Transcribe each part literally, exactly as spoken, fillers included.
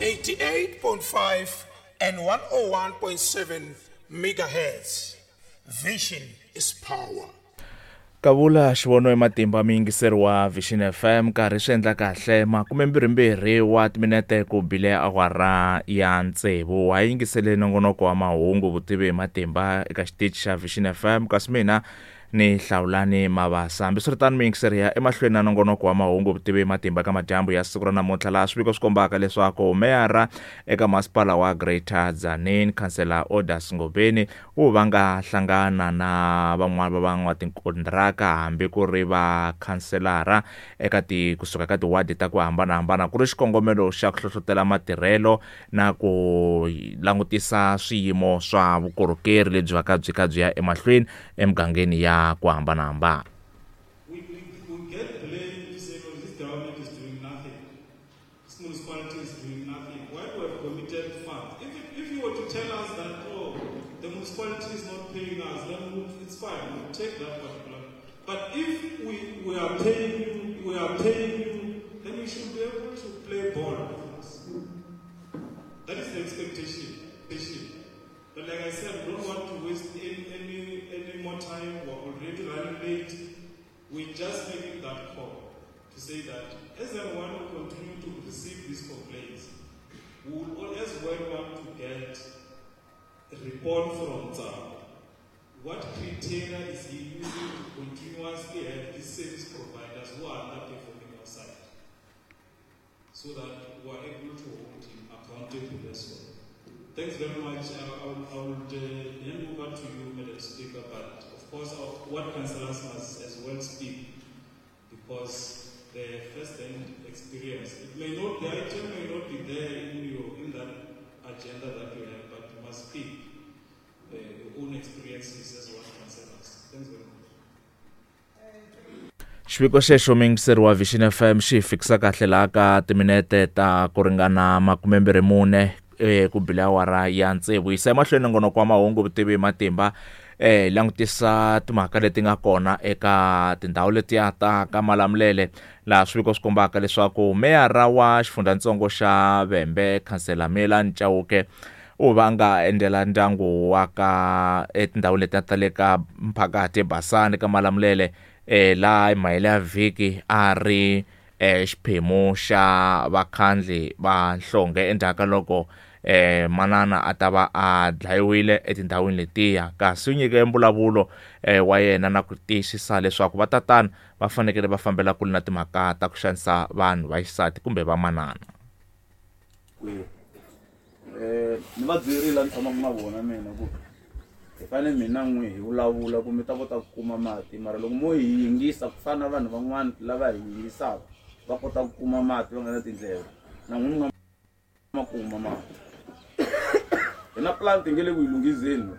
eighty-eight point five and one oh one point seven megahertz. Vision is power. Kavula xivono hi matimba miyingiseri wa Vision F M nkarhi swi endla kahle makume mbirhi wa timinete ku bile awara ya tsevu wa yingisele nongonoko wa mahungu vutivi hi matimba eka xitichi xa Vision F M kasi mina ni Hlawulani Mabasa. Hambiswiritano miyingiseri ya emahlweni na nongonoko wa mahungu vutivi hi matimba ka madyambu ya siku ra namuntlha laha swiviko swi kombaka leswaku meyara eka masipala wa Greater Tzaneen Councillor Odas Ngobeni wu va nga hlangana na van'wana va van'watikontraka hambi ku ri va khanselara eka ti kusuka ka tiwadi ta ku hambanahambana ku ri xikongomelo xa ku hlohlotela matirhelo na ku langutisa swiyimo swa vukorhokeri lebyi va ka byi ka byi ya emahlweni emugangeni ya ku hambanahambana. We, we, we get blamed to say, oh, this government is doing nothing. This municipality is doing nothing. Why do we have committed funds? If, it, if you were to tell us that, oh, the municipality is not paying us, then we'll, it's fine. We'll take that particular. But if we, we are paying you, we are paying you, then you should be able to play ball with us. That is the expectation. But like I said, we don't want to waste any, any, any more time. We're already running late. We're just making that call to say that as everyone will continue to receive these complaints, we will as well want to get a report from Tsao. What criteria is he using to continuously have these service providers who are underperforming our site, so that we are able to hold him accountable as well. Thanks very much. I, I, I would uh, hand over to you, Madam Speaker, but of course, our ward councillors must as well speak because the first-hand experience. It may not, the item may not be there in your in that agenda that you have, but you must speak uh, your own experiences as ward councillors. Thanks very much. Xiviko xexo miyingiseri wa Vision F M xi fikisa kahle laha ka timinete ta ku ringana makume mbirhi mune eh ku bile awara ya tsevu yisa emahlweni nongonoko wa mahungu vutivi hi matimba eh langutisa timhaka leti nga kona eka tindhawu letiya ta ka Malamulele laha swiviko swi kombaka leswaku meyara wa xifundzhantsongo xa Vhembe Councillor Melani Chauke u va nga endlela ndyangu wa ka etindhawu letiya ta le ka Mphakathi eBasani ka Malamulele eh laha hi mahele ya vhiki a ri eh xiphemu xa vakhandli va nhlonge endzhaku ka loko eh manana a ta va a dlayiwile etindhawini letiya kasi u nyike mbulavulo eh wa yena na ku tiyisisa leswaku vatatana va fanekele va fambela kule na timhaka ta ku xanisa vanhu va xisati kumbe va manana. Eh ni va byerile ni tshamaka na vona mina ku hi fanele mina n'wi hi vulavula ku mi ta kota ku kuma mati mara loko mo hi yingisa ku fana na vanhu van'wana lava hi yingisaka va kota ku kuma mati va nga na tindleve na n'wina mi nga ma kuma mati. Hi na plant nge le ku yi lunghizeni.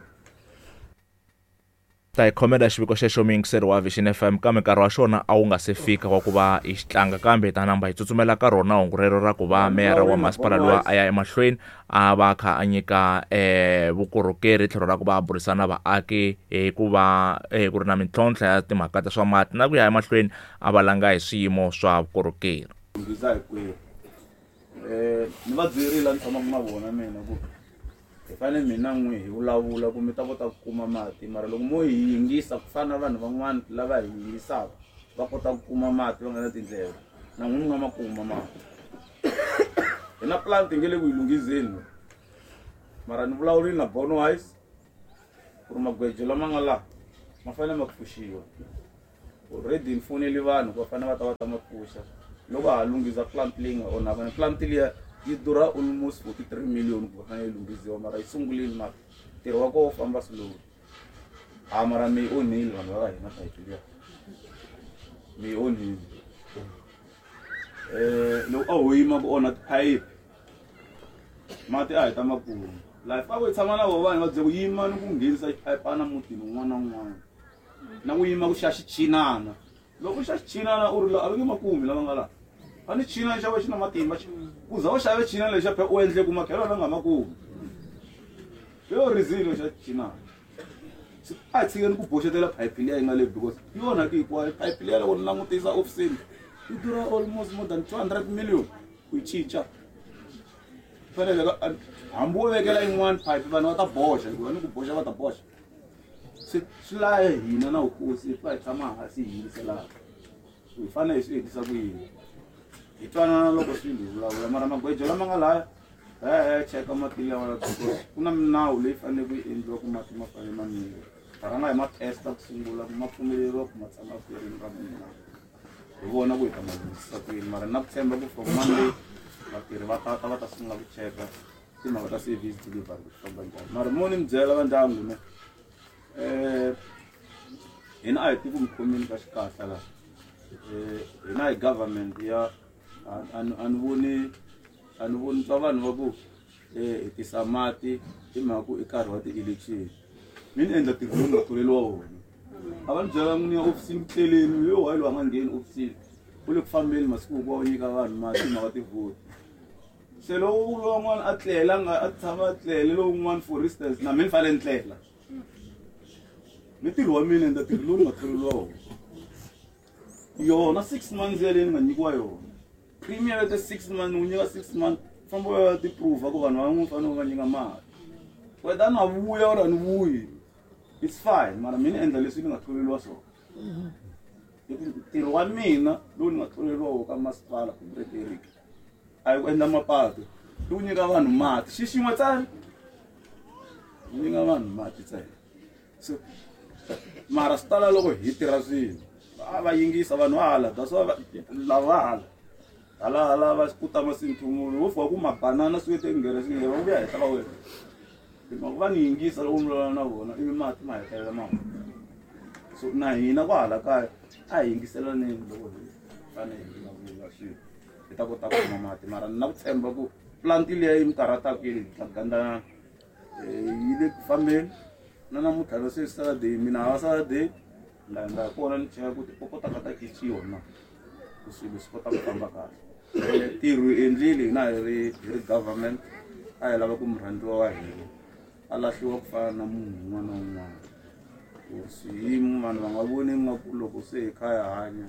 Ta hi khomela xiviko xexo miyingiseri wa Vision F M kambe nkarhi wa xona a wu nga se fika wa ku va hi xi tlanga kambe hi ta namba hi tsutsumela ka rona hungu rero ra ku va meyara wa masipala loyi a ya emahlweni a va kha a nyika eh vukorhokeri tlhelo ra ku va a burisana na vaaki hi ku va eh ku ri na mintlhontlho ya timhaka ta swa mati na ku ya emahlweni a va langa hi swiyimo swa vukorhokeri. Lunghisa hinkwerhu. Eh ni va byerile ni tshamaka na vona mina ku hi fanele mina n'wi hi vulavula ku mi ta kota ku kuma mati mara loko mo hi yingisa ku fana na vanhu van'wana lava hi yingisaka va kota ku kuma mati va nga na tindleve na n'wina mi nga ma kuma mati. Hi na plant nge le ku yi lunghizeni mara ni vulavurile na Bonwise ku ri magwejo lama nga laha ma fanele ma pfuxiwa. Already ni fonele vanhu ku va fanele va ta va ta ma pfuxa loko ha lunghisa plant leyi nga onhaka ni plant liya yi durha almost forty-three million ku fanele yi lunghisiwa mara yi sungulile mara ntirho wa kona wu famba slow. Ha mara mi yi onhile vanhu va ka hina phayiphi liya mi yi onhile. Eh loko a ho yima ku onha tiphayiphi mati a hi ta ma kuma life a ku hi tshama na vo vanhu va byela ku yima ni ku nghenisa xiphayipana mutini wun'wana na wun'wana na ku yima ku xa xichinana loko u xa xichinana u ri la a va nge ma kumi lava nga laha a ni china xa xi na matimba ku za u xave china lexa phela u endle ku makhelo la nga ma kumi yo rizilo xa china a hi tshikeni ku boxetela phayiphi liya yi nga le because yi onhaki hinkwayo phayiphi liya loko ni langutisa ofisini yi durha almost more than two hundred million ku yi cinca. Fanele hambi wo vekela yin'wana pipe vanhu va ta boxa hikuva ni ku boxa va ta boxa. Swi swi laya hina na vukosi hi fa hi tshama hansi hi yingiselana. Hi fanele hi swi endlisa ku yini. Hi twanana loko swilo hi vulavula mara magwejo lama nga laya hi ya cheka mati lawa ku na minawu leyi faneleke yi endliwa ku mati ma fanele ma nwiwa. Rhanga hi ma testa ku sungula ku ma pfumeleriwa ku ma tshama khwirini ra munhu na. Hi vona ku hi ta ma lunghisa ku yini mara na ku tshemba ku from Monday vatirhi va tata va ta sungula ku cheka timhaka ta service delivery ku famba njhani. Mara mo ni mi byela va ndyangu ne eh hina a hi tiku mi khomeni ka xikahla laha. Eh hina hi government ya a ni voni a ni voni twa vanhu va ku eh hi tisa mati hi mhaka ku i nkarhi wa ti-election. Mi ni endla ntirho lowu nga tholeriwa wona. A va ni byela n'wini ya ofisini ku tleleni yo why loyi a nga ngheni ofisini u le ku fambeni masiku hinkwawo u nyika vanhu mati mhaka tivhoti. Se lowu lowun'wana a tlela nga a tshama a tlele lowun'wana for instance na mina ni fanele ni tlela. Ni ntirho wa mina endla ntirho lowu nga tholeriwa wona. Yona six months yaleyo ni nga nyikiwa yona. Premier ya six months u nyika six months famba u ya ti-prove ku vanhu van'wana fanele va nyika mali. Whether na vuya or a ni vuyi it's fine mara mina endla leswi ni nga tholeriwa swona. Ntirho wa mina lowu ni nga tholeriwa wona ka masipala ku Frederick a hi ku endla mapatu i ku nyika vanhu mati xi xin'we ntsena ku nyika vanhu mati ntsena. So mara swi tala loko hi tirha swilo va va yingisa vanhu va hala that's why lava va hala hala hala va kuta masinthumulo wo fika ku mabanana swi te nghere swi nghere va vuya henhla ka wena. Hi va ni yingisa loko mi vulavula na vona ivi mati ma hetelela ma huma. So na hina kwahala kaya a hi yingiselaneni loko hi fanele hi vulavula swilo hi ta kota ku kuma mati mara ni na ku tshemba ku plant liya yi mi karhataka yi gandana yi le ku fambeni na namuntlha na sweswi Saturday mina hava Saturday la ndza kona ni cheka ku tipopo ta ka ta cinciwa na ku swilo swi kota ku famba kahle. Ntirho hi endlile hina hi ri hi ri government a hi lava ku murhandziwa wa hina a lahliwa ku fana na munhu un'wana na un'wana. Ku swiyimo vanhu va nga voni nga ku loko se hi kha hi hanya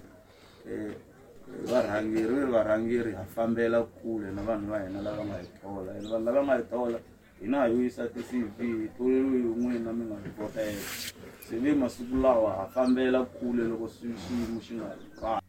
varhangeri varhangeri ha fambela kule na vanhu va hina lava nga hi thola ene vanhu lava nga hi thola hina hi yo yisa ti-C V hi tholeriwe hi n'wina mi nga hi vhotela. Se ve masiku lawa ha fambela kule loko xiyimo xi nga ri kahle.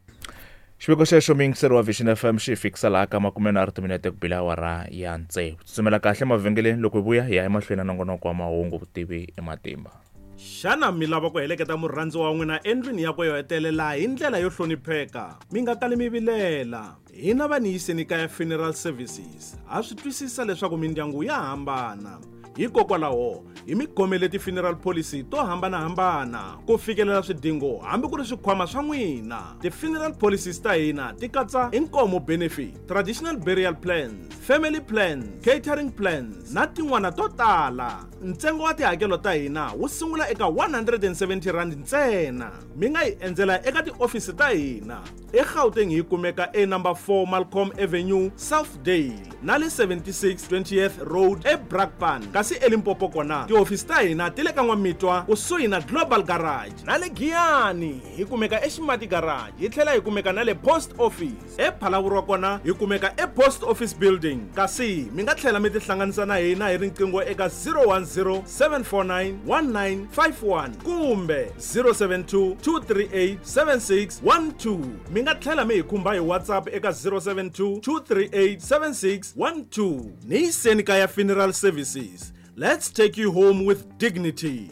Xiviko xexo muyingiseri wa Vision F M xi fikisa laha ka makume nharhu timinete ku bila awara ya tsevu. Tsutsumela kahle mavhengeleni loko hi vuya hi ya emahlweni na nongonoko wa mahungu vutivi i matimba. Xana mi lava ku heleketa murhandziwa wa n'wina endlwini yakwe yo hetelela hi ndlela yo hlonipheka? Mi nga kali mi vilela. Hina va ni yiseni kaya Funeral Services ha swi twisisa leswaku mindyangu ya hambana. Hikokwalaho hi mi khomele ti-funeral policy to hambanahambana ku fikelela swidingo hambi ku ri swikhwama swa n'wina. Ti-funeral policies ta hina ti katsa inkomo benefit, traditional burial plans, family plans, catering plans na tin'wana to tala. Ntsengo wa tihakelo ta hina wu sungula eka one hundred and seventy rand ntsena. Mi nga hi endzela eka tiofisi ta hina eGauteng hi kumeka e number four Malcolm Avenue, Southdale na le seventy-six twentieth Road eBrakpan. Kasi eLimpopo kona tiofisi ta hina ti le ka N'wamitwa kusuhi na Global Garage na le Giyani hi kumeka eXimati Garage hi tlhela hi kumeka na le Post Office. ePhalaborwa kona hi kumeka ePost Office Building. Kasi mi nga tlhela mi tihlanganisa na hina hi riqingho eka zero one zero seven four nine one nine five one kumbe zero seven two two three eight seven six one two. Mi nga tlhela mi hi khumba hi WhatsApp eka zero seven two two three eight seven six one two. Ni yiseni kaya Funeral Services. Let's take you home with dignity.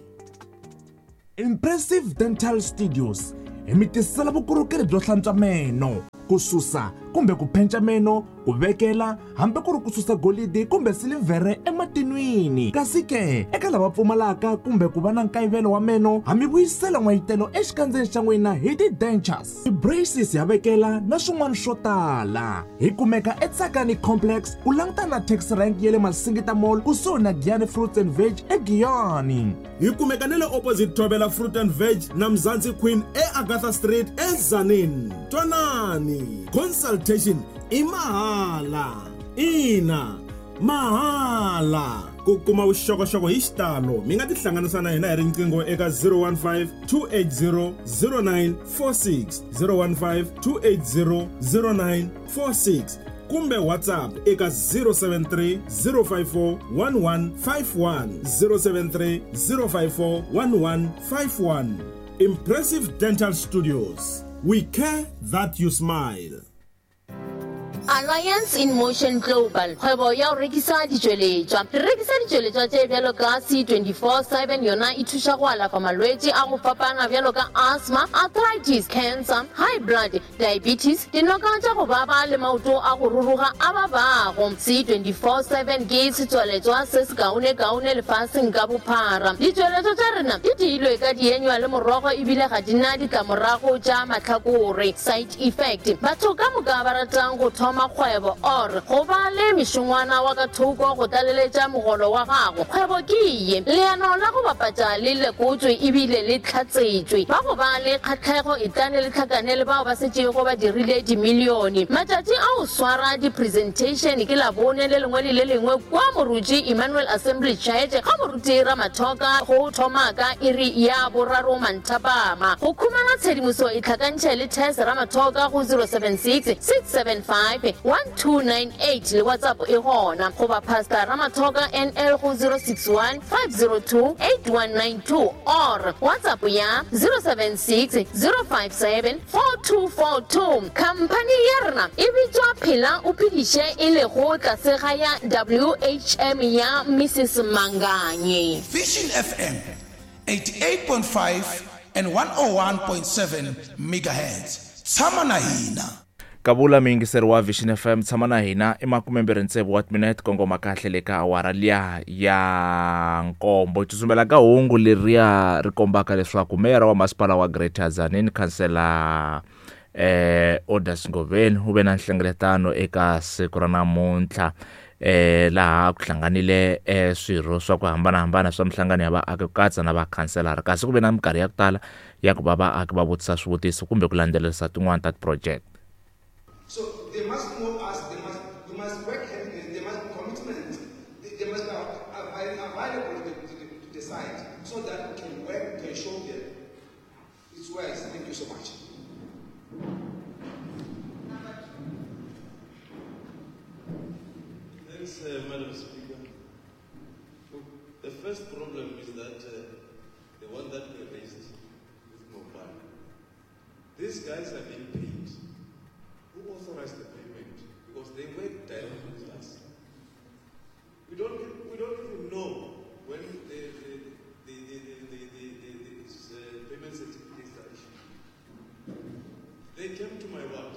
Impressive Dental Studios hi mi tisela vukorhokeri byo hlantswa meno, ku susa kumbe ku penca meno, ku vekela hambi ku ri ku susa golidi kumbe silivhere ematinwini. Kasi ke eka lava pfumalaka kumbe ku va na nkayivelo wa meno, ha mi vuyisela n'wayitelo exikandzeni xa n'wina hi ti-dentures, ti-braces ya vekela na swin'wana swo tala. Hi kumeka eTsakani Complex ku langutana na taxi rank ya le Masingita Mall kusuhi na Giyani Fruits and Veg eGiyani. Hi kumeka na le opposite Thobela Fruit and Veg na Mzansi Queen eAgatha Street eZanini. Twanani, consultation i mahala. Ina, mahala. Ku kuma vuxokoxoko hi xitalo mi nga tihlanganisa na hina hi riqingho eka zero one five two eight zero zero nine four six, zero one five two eight zero zero nine four six Kumbe WhatsApp eka zero seven three, zero five four, one one five one, zero seven three, zero five four, one one five one. Impressive Dental Studios. We care that you smile. Alliance in Motion Global, kgwebo ya go rekisa ditšweletšwa. Re rekisa ditšweletšwa tše bjalo ka C twenty-four seven, yona e thuša go alafa malwetši a go fapana bjalo ka asthma, arthritis, cancer, high blood, diabetes, dinoka tša go baba le maoto a go ruruga a babago. C twenty-four seven ke setsweletšwa se se kaone-kaone lefaseng ka bophara. Ditšweletšwa tša rena di diilwe ka dienywa le morogo ebile ga di na ditlamorago tša mahlakore, side effect. Batho ka moka ba ratang go thoma kgwebo or go ba le mešongwana wa ka thoko go tlaleletša mogolo wa gago. Kgwebo ke ye leano la go bapatša le lekotswe ebile le tlhatsetšwe. Ba go ba le kgatlhego e tlane le tlhakane le bao ba setšego ba dirile dimilione. Matšatši a go swara di-presentation ke Labone le lengwe le le lengwe kwa Moruti Emmanuel Assembly Church ga Moruti Ramathoka go thoma ka iri ya boraro manthapama. Go khumana tshedimoso e tlhakantšhe le Tess Ramathoka go zero seven six, six seven five, one two nine eight le WhatsApp e gona goba Pastor Ramathoka N L go zero six one, five zero two, eight one nine two or WhatsApp ya zero seven six, zero five seven, four two four two. Company ya rena e bitswa Phela o Phediše e lego tlase ga ya W H M ya Missus Manganye. Vision F M eighty-eight point five and one oh one point seven megahertz. Tshama na hina. Kabula muyingiseri wa Vision F M, tshama na hina i makumembirhi tsevu wa timinete kongoma kahle le ka awara liya ya nkombo. Tsutsumela ka hungu leriya ri kombaka leswaku meyara wa masipala wa Greater Tzaneen Councillor eh Odas Ngoveni u ve na nhlengeletano eka siku ra namuntlha eh laha ku hlanganile eh swirho swa ku hambanahambana swa mihlangano ya vaaki ku katsa na vakhanselara, kasi ku ve na minkarhi ya ku tala ya ku va vaaki va vutisa swivutiso kumbe ku landzelerisa tin'wana ta ti-project. So they must know us, they must, we must work hand in hand, there must be commitment, they, they must be available to the, to the, to the site so that we can work, we can show them. It's wise. Thank you so much. Thanks, uh, Madam Speaker. Look, the first problem is that uh, the one that we raised with mobile. These guys are being paid. Who authorized the payment? Because they work directly with us. We don't, we don't even know when the, the, the, the, the, the, the, the, the uh, payment certificates are issued. They came to my ward.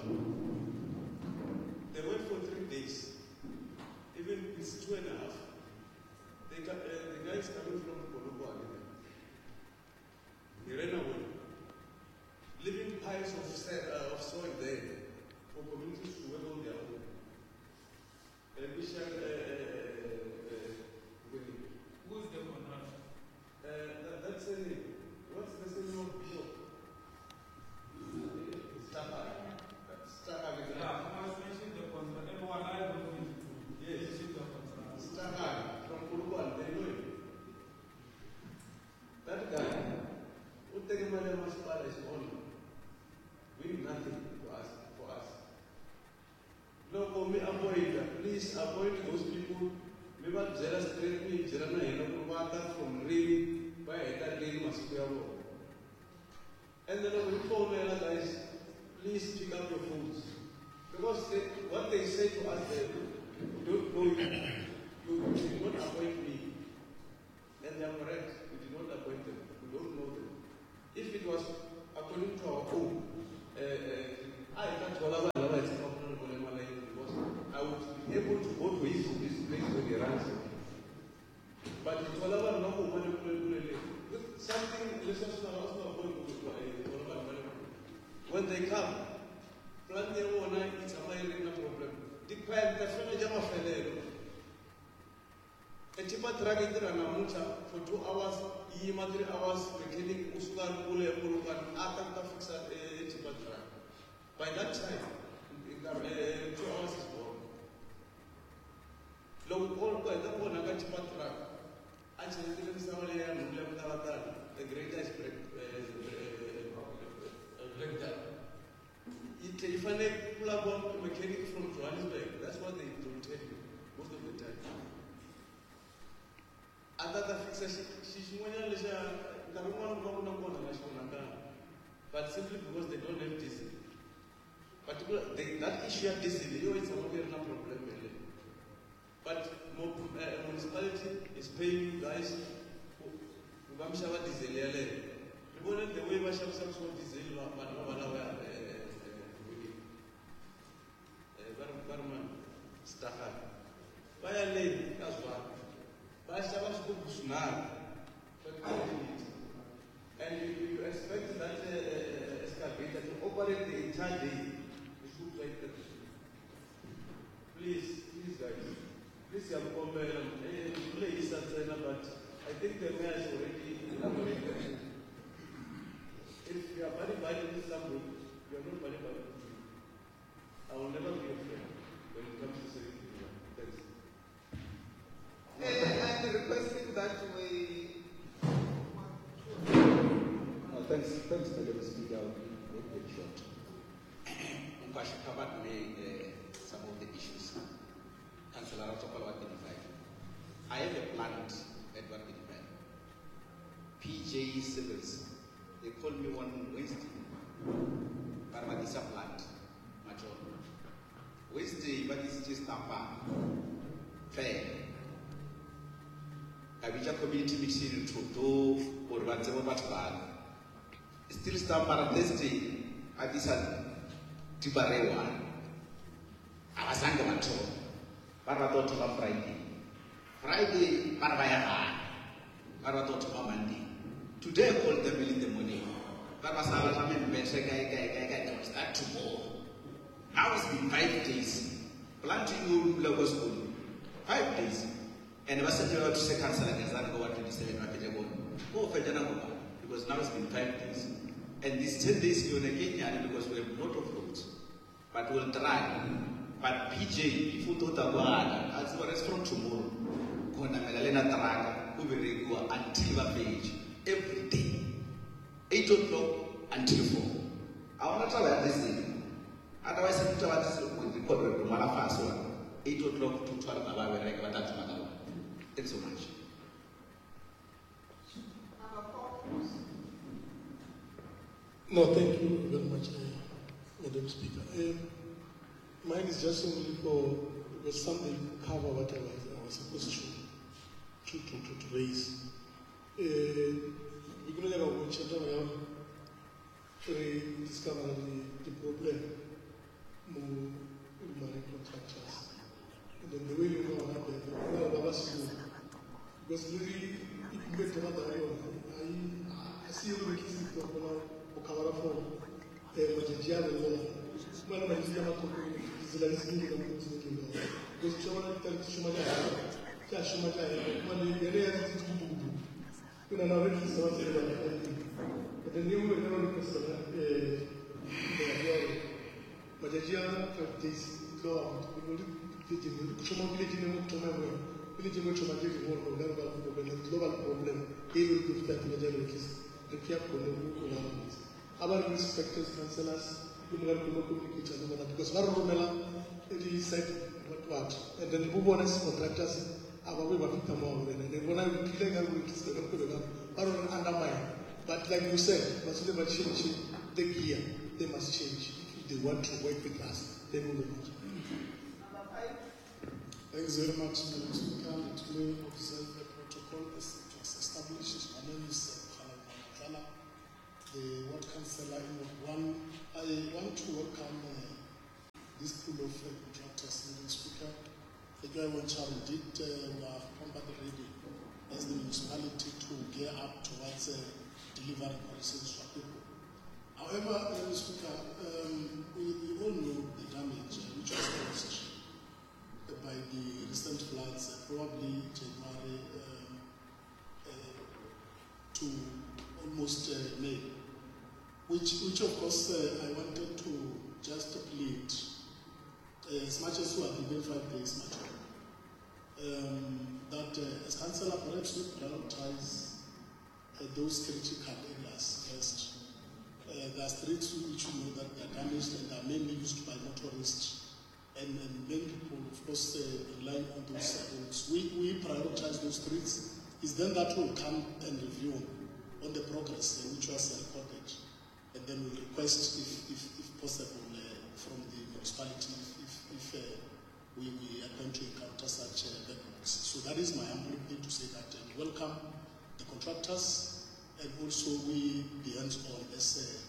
They went for three days. Even it's two and a half. They, uh, the guy is coming from Polokwane. He ran away, leaving piles of, uh, of soil there for communities to work on their own. And we shall, uh, uh, uh, Who is the contractor? Uh, that, that's a name. What's the name of Bishop? Staka. Staka. Yeah, I must mention the contractor. Everyone I don't need to Yes. mention the contractor. Staka from Polokwane, they know him. That guy, who take money masipala is on, doing nothing to us, for us. Loko mi avoid, please avoid those people. Mi va byela straight, mi byela na hina ku va ta from rini, va heta rini masiku ya vona. And then loko hi fonela guys, please pick up your phones. Because they, what they say to us there, we don't know you. You, you did not appoint me. And they are correct. We did not appoint them. We don't know them. If it was according to our own, uh, uh, I can't because I would be able to go to his, his place when he runs. But it was something when they come, plan their own, it's a minor problem. A tipper truck in the for two hours, three hours, mechanic usuka kule Polokwane ata fix a tipper truck. By that time, uh, two hours is gone. Loko ko heta ku onhaka tipper truck, a cheletile misava leyi ya nhundzu ya ku talatala, the grader is break, uh, uh, breakdown. Yi tlhe yi fanele ku laviwa mechanic from Johannesburg. A ta ta fixa xi xin'wanyana lexa nkarhi wun'wana ku va ku na kona la xi onhakaka, but simply because they don't have diesel. Particular they, that issue ya diesel yo yi tshama ku yi ri na problem yeleyo. But mo, uh, municipality is paying you guys ku va mi xava diesel yeleyo. Ri vone the way va xavisaka swo diesel va vanhu va va lava va ri va ri mani Stagana va ya le ka Zwane va xava swigubu swinharhu swa twenty litre, and you, you expect that uh, uh, excavator to operate the entire day. Please, please guys, please siyakukombela lehisa ntsena, but I think the mayor has already elaborated. If you are buddy buddy with somebody, you are not buddy buddy with me. I will never be your friend when it comes to saving people. Thanks. Uh, I'm requesting that we. No, thanks, thanks, Madam Speaker. I'll be very, very short. Nkwasha covered me uh, some of the issues. Councillor Ratsopala, Ward thirty-five. I have a plant at Ward thirty-five. P J Civils. They called me one Wednesday. Barbatisa plant. Macho. Wednesday, but it's just Tampa. Fair. Kabija community meeting to do or whatever but bad. Still Stampa Thursday at this Tibarewa. Abasanga batho. Ba rata ho thoma Friday. Friday ba re ba ya gae. Ba rata ho thoma Monday. Today I called them early in the morning. Ba ba sa batla membeshe kae kae kae kae, they will start tomorrow. Now it's been five days. Planting you dula ko sekolo. Five days. And ba setse ba thuse councillor Ngezana go wa twenty-seven ba fetše bona. Go fetša nako ba, because now it's been five days. And these ten days ke yone ke nyane because we have a lot of roads. But we'll try. But P J, if you don't go as well as from tomorrow, go na mela truck, go berekiwa until ba fetše every day. eight o'clock until four. I want to try this thing. Otherwise, if you want to record re ngwala fase wa eight o'clock to twelve ba ba bereka ba tla thoma ka lona. Thanks so much. No, thank you very much, uh, Madam Speaker. Um, mine is just only for, because something cover what I was, I was supposed to, to, to, to, to raise. Uh, we could never watch it, we discover the, the problem with marine contractors. And then the way you know how they because really, if you get to I see you releasing the cover for Majiana. Global problem. Our inspectors, councillors, we will communicate because we site what what, and then we want contractors. Our way of and then when I will undermine. But like you said, must never change the gear. They must change if they want to work with us. They will not. Thanks very much, Madam Speaker. Let me observe the protocol as it was established. My name is Khala, the ward councillor in Ward one. I want to welcome uh, this pool of uh, contractors, Madam Speaker. The guy did uh, we are combat ready as the municipality to gear up towards uh, delivering policies for people. However, Madam Speaker, um, we, we all know the damage uh, which was caused by the recent floods, uh, probably January um, uh, to almost uh, May, which, which of course uh, I wanted to just plead, uh, as much as we are given five days, much, um, that uh, as councillor perhaps we prioritize uh, those critical areas first. Uh, there are streets which we know that they are damaged and are mainly used by motorists. And, and many people, of course, uh, relying on those roads. We, we prioritize those streets It's then that we'll come and review on the progress uh, which was recorded, and then we'll request, if, if, if possible, uh, from the municipality if, if, if uh, we, we happen to encounter such uh, backlogs. So that is my humble plea to say that uh, we welcome the contractors, and also we be hands-on as uh,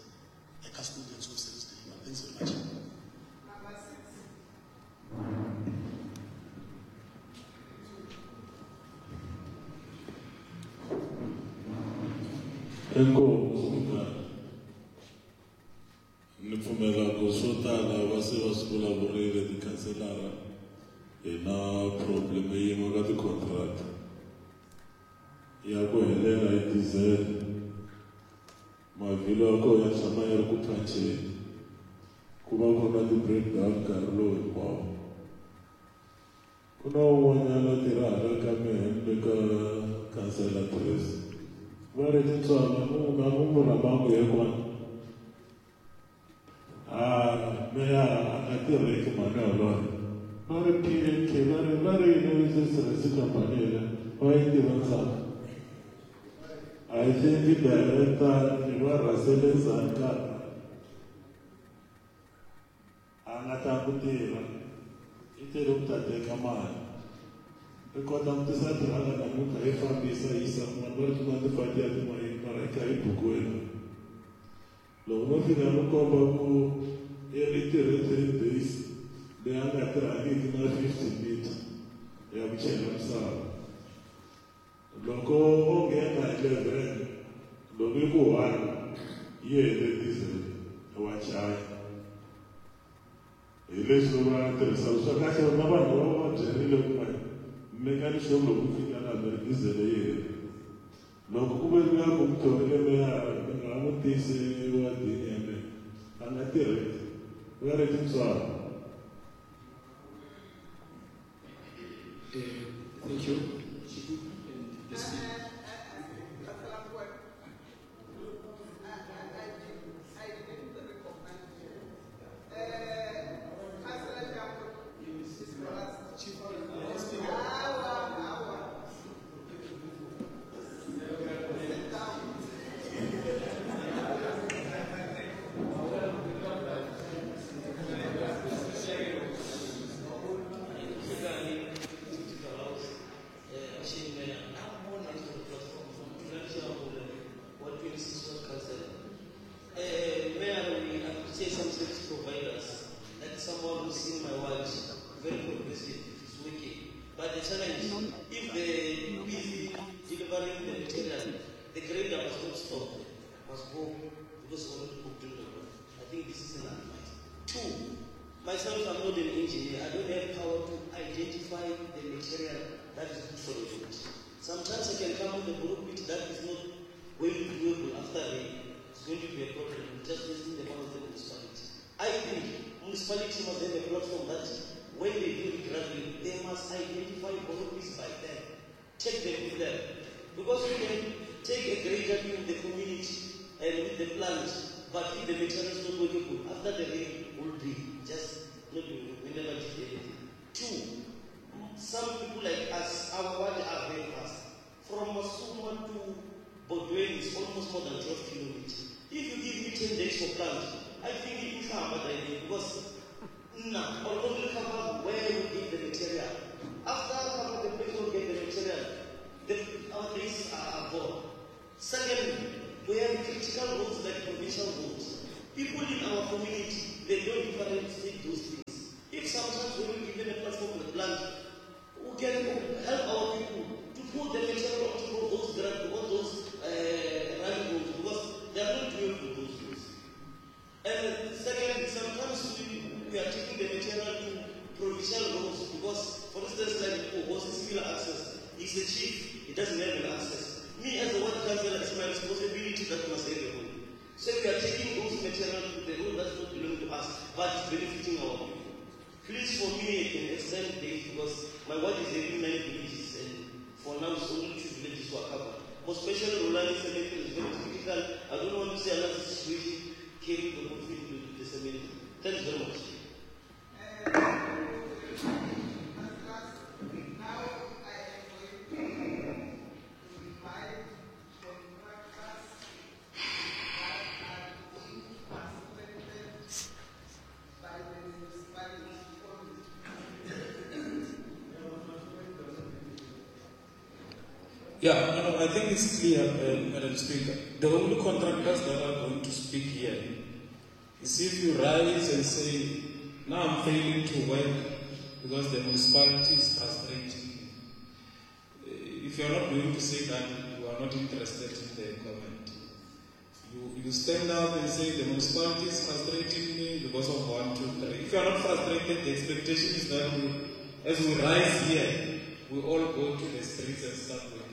a custodians of service delivery. Thanks very much. Number six. Inkosi ni pfumela ku swo tala va se va swi vulavurile tikhanselara hi na problem yin'we ka ti-contract ya ku helela hi diesel mavhilo ya kona ya tshama ya ri ku phanceni ku va ku ri na ti-breakdown nkarhi lowu hinkwawo ku na un'wanyana a tirhaka ka mehe ni le ka khansela Tracy va ri tintswalo mu nga mu mu rhambangu ye kona a meyara a nga tirheki mhani yoloye va ri P N K va ri va ri yini sirhisi khampani leyi va yi tiva ndzhaku I think director ni va rhasele ndzhaku a nga ta ku tirha i tele ku ta teka mali i kota ku tisa tirhaka namuntlha yi fambisa yisa kun'wana va ri tin'wana tifati ya tin'wanyana mara i kha yi bukiwile loko no fika no komba ku i ri tirhe three days leyi a nga tirhangiki na fifty meter ya ku chela misava loko o nghena eleven loko i ku one yi hele diesel wa chaya hi leswi va tirhisaka swa kahle na vanhu va va byerile ku mani mekani sure loko ku fika laha mi ri diesel yi herile loko ku ve luya ku mu thorile meyara mi nga n'wi tisi wa dini ya mina a nga tirheki va ri tintswalo. Thank you. And the speaker. Yeah, no, no, I think it's clear, uh, Madam Speaker. The only contractors that are going to speak here is if you rise and say, now I'm failing to work because the municipality is frustrating me. If you're not going to say that, you are not interested in the comment. You, you stand up and say the municipality is frustrating me because of one, two, three. If you are not frustrated, the expectation is that we, as we rise here, we all go to the streets and start working.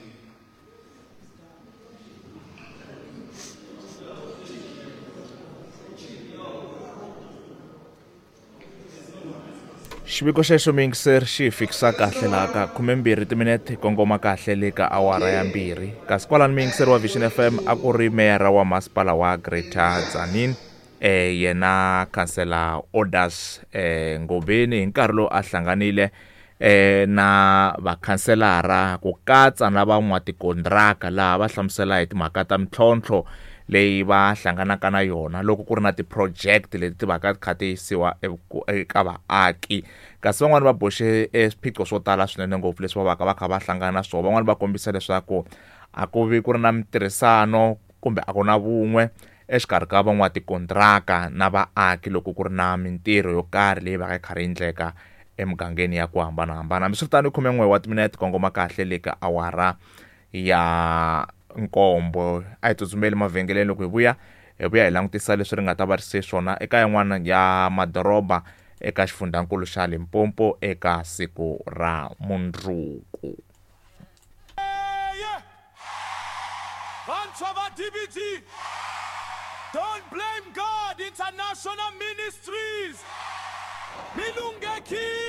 Xiviko xexo miyingiseri xi hi fikisa kahle laha ka khumembirhi timinete kongoma kahle le ka awara ya mbirhi kasi kwalani miyingiseri wa Vision F M a ku ri meyara wa masipala wa Greater Tzaneen eh yena khansela Orders eh Ngobeni hi nkarhi lowu a hlanganile eh na vakhanselara ku katsa na van'watikontraka laha va hlamusela hi timhaka ta mintlhontlho leyi va hlanganaka na yona loko ku ri na ti-project leti ti vaka ti kha ti yisiwa eka vaaki kasi van'wani va boxe swiphiqo swo tala swinene ngopfu leswi va vaka va kha va hlangana na swona van'wani va kombisa leswaku a ku vi ku ri na mintirhisano kumbe a ku na vun'we exikarhi ka van'watikontraka na vaaki loko ku ri na mintirho yo karhi leyi vaka yi karhi yi endleka emugangeni ya ku hambanahambana hambiswiritano khumen'we wa timinete kongoma kahle le ka awara ya nkombo a hi tsutsumeli mavhengeleni loko hi vuya hi vuya hi langutisa leswi ri nga ta va ri se swona eka yin'wana ya madoroba eka xifundzankulu xa Limpopo eka siku ra mundzuku. Vantshwa va D B T, don't blame God International Ministries. Milungeki.